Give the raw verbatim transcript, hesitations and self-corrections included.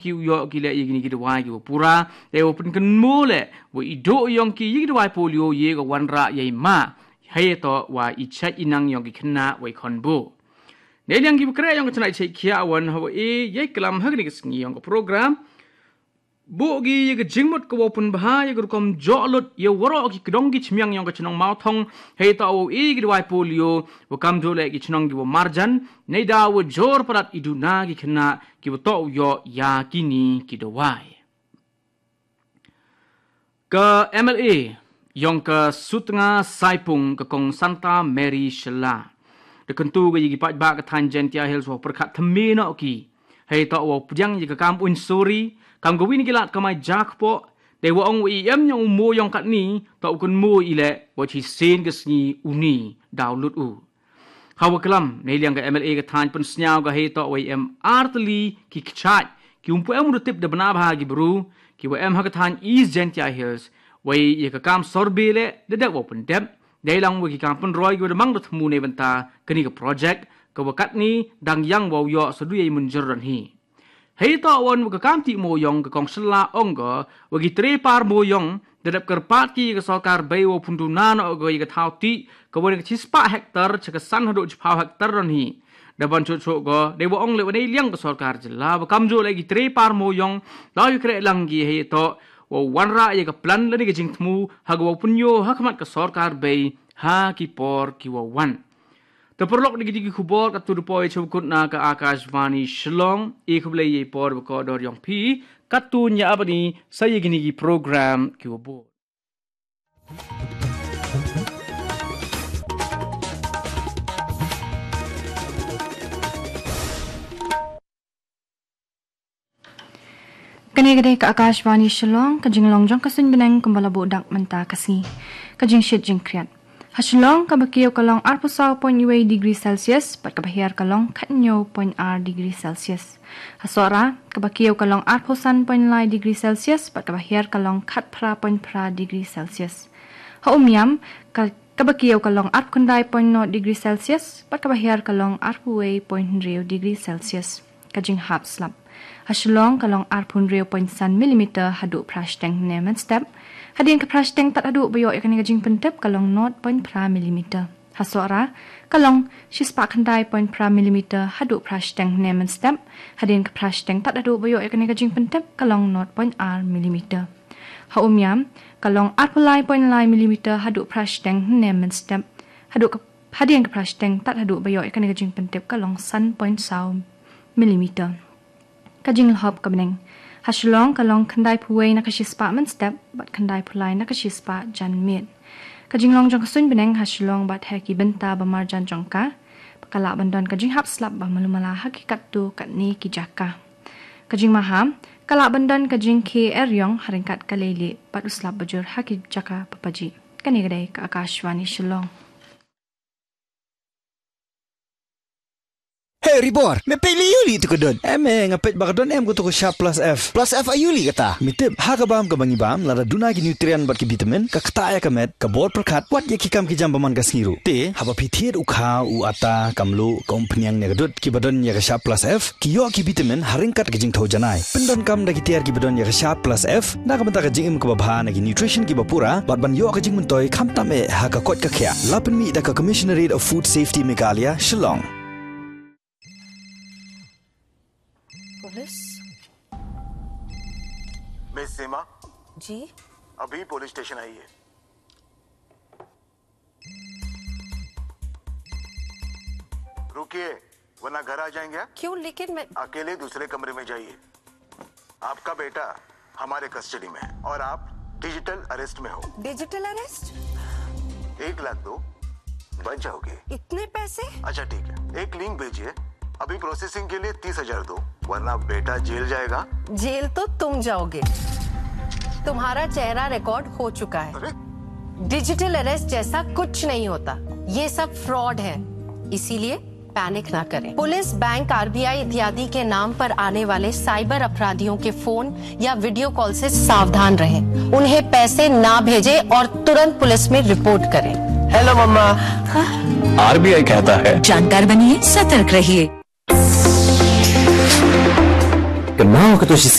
ki u ïoh ki leh ïa kine ki dawai ki wa pura, te wa pynkynmaw leh wa i duh yong ki ïa ki dawai polio ïa ka wanrah ïa i ma, hei to wa i chait i nang yong ki khynnah wa i khon buh. Neiliang ki wa khreh yong ka tnat chait khia wan ha wa e ïa i klam ha kane ka sngi yong ka program. Buh ki ïa ka jingmut ka wa pynbha ïa ka rukom joh lut ïa waroh ki kdong ki chmiang yong ka chnong Mawthong, hei to wa e ki dawai polio wa kam duh leh ki chnong ki wa marjan, nei da wa jor palat i duna ki khynnah ki wa to u ïoh ïa kini ki dawai. Ka M L A yong ka Sutnga Saipung ka kong Santa Mary Shylla da kyntu ka ïa ki paidbah ka thaiñ Jaintia Hills wa pyrkhat thymme noh ki, hei to wa pdiang ïa ka kam uiñ suri kam ka win ki lad kamai jakpoh, te wa ong wa i em yong u mo yong katni to u kynmo i leh wa chi sien ka sngi uni daw lut u. Ha wa klam neiliang ka M L A ka thaiñ pynsngew ka hei to wa i em artylli ki kchait ki um pu em u da tip da bna bha ki bru ki wa em ha ka thaiñ East Jaintia Hills, wa i ïa ka kam sorbe leh da dep wa pyndep, dei lang wa ki kam pynroi ki wa da mang da thmu nei bynta kani ka project ka wa katni dang yang wa u ïoh sa du ïa i mynjur don hi. Hei to wan wa ka kam ti mo yong ka kong Shylla ong ka wa ki tre par mo yong da dep kyrpad ki ka sorkar bei wa pyndu na no ka ïa ka thaw ti ka wa ka chispah hektar cha ka san haduh chiphaw hektar don hi. Da ban chuh chuh ka dei wa ong leh wa neiliang ka sorkar jylla wa kam juh leh ki tre par mo yong da ïa khreh lang ki hei to wa wanrah ïa ka plan lane ka jingthmu ha ka wa pynïoh ha khmat ka sorkar bei ha ki por ki wa wan. Te paralok, da ki dei ki khubor katto da poi cha wa kut na ka Akashvani Shillong. I khublei ïa i por wa kordor yong phi katto nia abani sa ïa kini ki program ki wa bud. Kane ka dei ka Akashvani Shillong, ka jinglong jong ka suiñ bneng kumba la buh dak mynta ka sngi. Ka jingshit jingkhriat. Ha Shillong kaba kiew ka long arphew saw point wei degree Celsius bad kaba hiar ka long khathynñiew point ar degree Celsius. Ha Sohra kaba kiew ka long arphew san point lai degree Celsius bad kaba hiar ka long khatphra point phra degree Celsius. Ha Umiam ka kaba kiew ka long arphew khyndai point nod degree Celsius bad kaba hiar ka long arphew wei point hynriew degree Celsius. Ka jinghap slap. Ha Shillong ka long arphew hynriew point san millimeter haduh phra shiteng hynne mynstep. Hadien ka phra shiteng tad haduh ba ïoh ïa kane ka jingpyntip ka long nod point phra millimeter. Ha Sohra ka long shispah khyndai point phra millimeter haduh phra shiteng hynne mynstep. Hadien ka phra shiteng tad haduh ba ïoh ïa kane ka jingpyntip ka long nod point ar millimeter. Ha Umiam ka long arphew lai point lai millimeter haduh phra shiteng hynne mynstep. Haduh ka, hadien ka phra shiteng tad haduh ba ïoh ïa kane ka jingpyntip ka long san point saw millimeter. Ka jinglhop ka bneng. Ha Shillong ka long khyndai phew wei na ka shispah mynstep bad khyndai phew lai na ka shispah janmiet. Ka jinglong jong ka suiñ bneng ha Shillong bad ha ki bynta ba marjan jong ka ka lah ban don ka jinghap slap ba malu mala ha ki katto katne ki jaka. Ka jingmaham ka lah ban don ka jingkhie eriong ha ryngkat ka leilieh bad u slap bajur ha ki jaka ba pajih. Kane ka dei ka Akashvani Shillong. Hey Ribor, me peit lei ïa u lei tu ka don. Em, eh, nga peit ba ka don em ka tu ka Sharp Plus F. Plus F aïu lei kata? Me tip, ha ka bam ka ba ngi bam, lada duna ki nutrient bad ki vitamin, ka ktah ïa ka met, ka bor pyrkhat, wat ïa ki kam ki jam ba man ka sngi ruh. Te haba phi thied u kha, u ata, ka mluh, ka umphniang ne ka dud, ki ba don ïa ka Sharp Plus F ki ïoh ki vitamin ha ryngkat ka jingthew janai. Pyndonkam da ki tiar ki ba don ïa ka Sharp Plus F na ka bynta ka jingim ka ba bha na ki nutrition ki ba pura bad ban ïoh ka jingmyntoi khamtam eh ha ka koit ka khiah. La pynmih da ka Commissionerate of Food Safety Meghalaya, Shillong. Police? Miss Seema, ji? अभी police station आई है। रुकिए, वरना घर आ जाएंगे आप। क्यों? लेकिन मैं अकेले दूसरे कमरे में जाइए। आपका बेटा हमारे कस्टडी में है और आप डिजिटल अरेस्ट में हो। Digital arrest? एक लाख दो, बच जाओगे। इतने पैसे? अच्छा ठीक है, एक लिंक भेजिए, अभी प्रोसेसिंग के लिए तीस हजार दो, वरना बेटा जेल जाएगा। जेल तो तुम जाओगे, तुम्हारा चेहरा रिकॉर्ड हो चुका है। अरे? डिजिटल अरेस्ट जैसा कुछ नहीं होता, ये सब फ्रॉड है, इसीलिए पैनिक ना करें। पुलिस, बैंक, आरबीआई इत्यादि के नाम पर आने वाले साइबर अपराधियों के फोन या वीडियो कॉल से सावधान रहें। उन्हें पैसे ना भेजें और तुरंत पुलिस में रिपोर्ट करें। हेलो मम्मा। आरबीआई कहता है, जानकार बनिए, सतर्क रहिए। Kynmaw kato shi